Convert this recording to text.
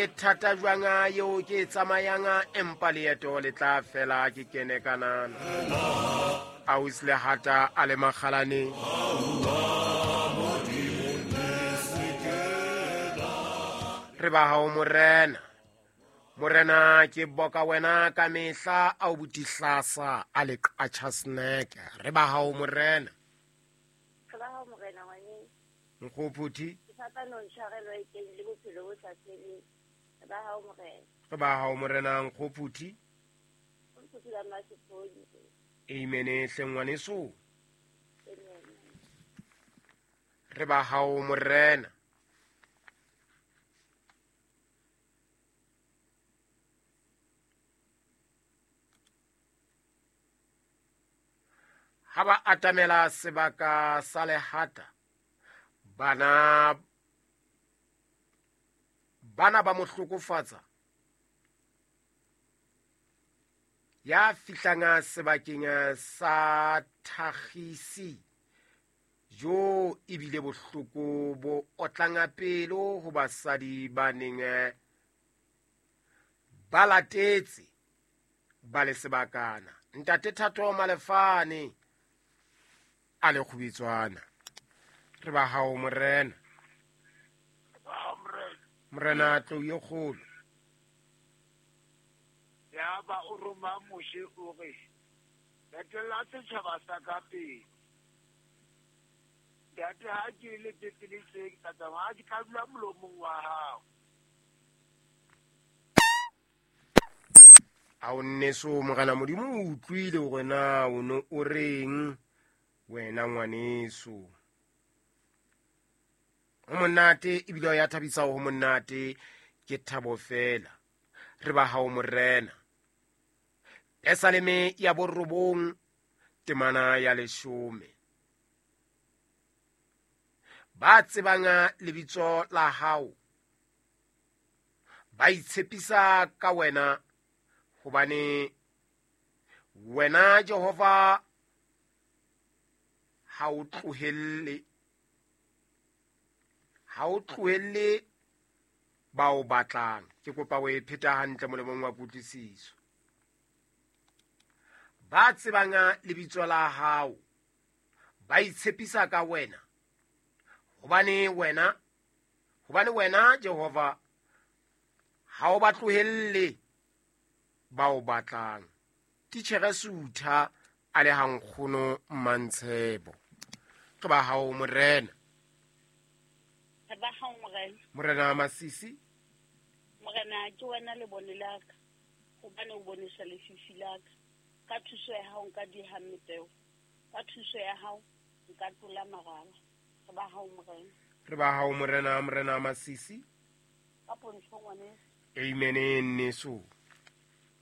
e thata jwang eo ke e tsamayang, empa leeto le tla fela ke kene kanana. Ausi Lehata a le makgalaneng. Re ba hao morena. Morena ke boka wena ka mehla a o botihlasa a le qatjha snack. Re ba hao morena. Re ba hao morena ngwaneng. Nkgophuthi. Ke fapano ntshwarelo e teng le bophelo bo sa feleng. Re ba hao morena. Re ba hao morena Nkgophuthi. Nkgophuthi ba Mmasepodi. Amen hle ngwaneso. Amen. Re ba hao morena. Ha ba atamela sebaka sa lehata, bana ba mo hlokofatsa. Ya fihlang sebakeng sa thakgisi, jo ebile bohloko bo otlang pelo ho basadi ba neng ba latetse ba le sebakana. Ntate Thato Malefane a le kgubitswana. Re ba hao morena. Morena tlou e kgolo. Ya ba o roma Moshe o re, etella setjhaba sa ka pele. Ntate ha ke le peteletse ke tla tsamaya ke tla dula molomong wa hao. A o nneso morena Modimo o utlwile hore na o no o reng wena ngwaneso. Ho monate ebile ya thabisa ho monate ke thabo fela. Re ba hao morena. Pesaleme ya 9 temana ya 10. Ba tsebang lebitso la hao ba itshepisa ka wena, hobane wena Jehova ha o tlohelle, ha o tlohelle ba o batlang. Ke kopa o e pheta hantle molemong wa kutlwisiso. Ba tsebang lebitso la hao ba itshepisa ka wena, hobane wena Jehova ha o ba tlohelle ba o batlang. Titjhere Sutha a le hankgono Mmantshebo. Ke ba hao morena. Re ba hao morena. Morena Masisi. Morena ke wena lebone la ka, hobane o bonesa lefifi la ka. Ka thuso ya hao nka diha mepeo, ka thuso ya hao nka tlola maraba. Re ba hao morena. Re ba hao morena, morena Masisi. Ka pontsho ngwaneso. Amen nneso.